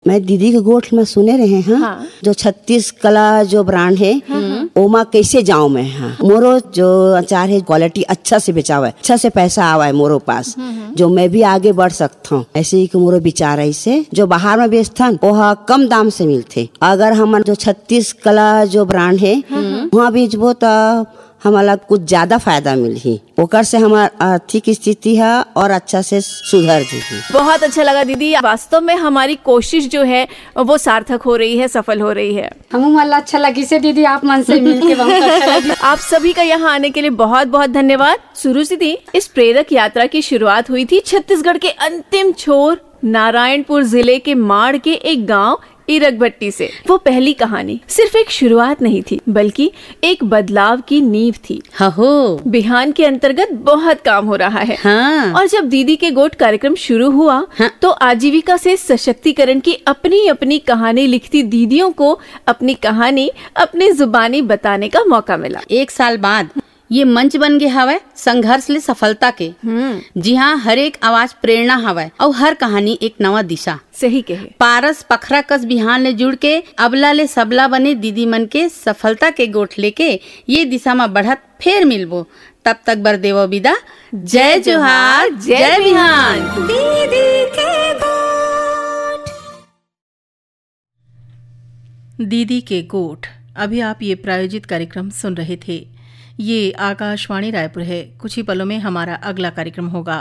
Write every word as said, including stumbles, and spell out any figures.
मैं दीदी के गोठ में सुने रहे हैं, हाँ। जो छत्तीस कला जो ब्रांड है, ओमा कैसे जाऊं मैं? हाँ, मोरो जो अचार है, क्वालिटी अच्छा से बेचावे, अच्छा से पैसा आवे मोरो पास, जो मैं भी आगे बढ़ सकता हूँ। ऐसे ही कि मोरो विचार है इसे, जो बाहर में बेचथन, वो हा कम दाम से मिलथे। अगर हमन जो छत्तीस कला जो ब्रांड है, वहाँ बेचबो, तो हमला कुछ ज्यादा फायदा मिलही, ओकर से हमार आर्थिक स्थिति है और अच्छा से सुधर जही। बहुत अच्छा लगा दीदी, वास्तव में हमारी कोशिश जो है वो सार्थक हो रही है, सफल हो रही है। हमू मन ला अच्छा लगिस हे दीदी, आप मन से मिलके बहुत अच्छा लगिस। आप सभी का यहाँ आने के लिए बहुत बहुत धन्यवाद। सुरुचि दी, इस प्रेरक यात्रा की शुरुआत हुई थी छत्तीसगढ़ के अंतिम छोर नारायणपुर जिले के माड़ के एक गांव ईरकभट्टी से। वो पहली कहानी सिर्फ एक शुरुआत नहीं थी, बल्कि एक बदलाव की नींव थी। हहो। बिहान के अंतर्गत बहुत काम हो रहा है। हाँ। और जब दीदी के गोठ कार्यक्रम शुरू हुआ, हाँ। तो आजीविका से सशक्तिकरण की अपनी अपनी कहानी लिखती दीदियों को अपनी कहानी अपनी जुबानी बताने का मौका मिला। एक साल बाद ये मंच बन गे हवय संघर्ष ले सफलता के, जिहां हर एक आवाज प्रेरणा हवय अउ हर कहानी एक नवा दिशा। सही कहे। पारस पखरा कस बिहान ले जुड़ के अबला ले सबला बने दीदी मन के सफलता के गोठ लेके ये दिशा म बढ़त फेर मिलबो। तब तक बर देवो विदा। जय जोहार, जय बिहान। दीदी के गोठ। दीदी के गोठ। अभी आप ये प्रायोजित कार्यक्रम सुन रहे थे। ये आकाशवाणी रायपुर है। कुछ ही पलों में हमारा अगला कार्यक्रम होगा।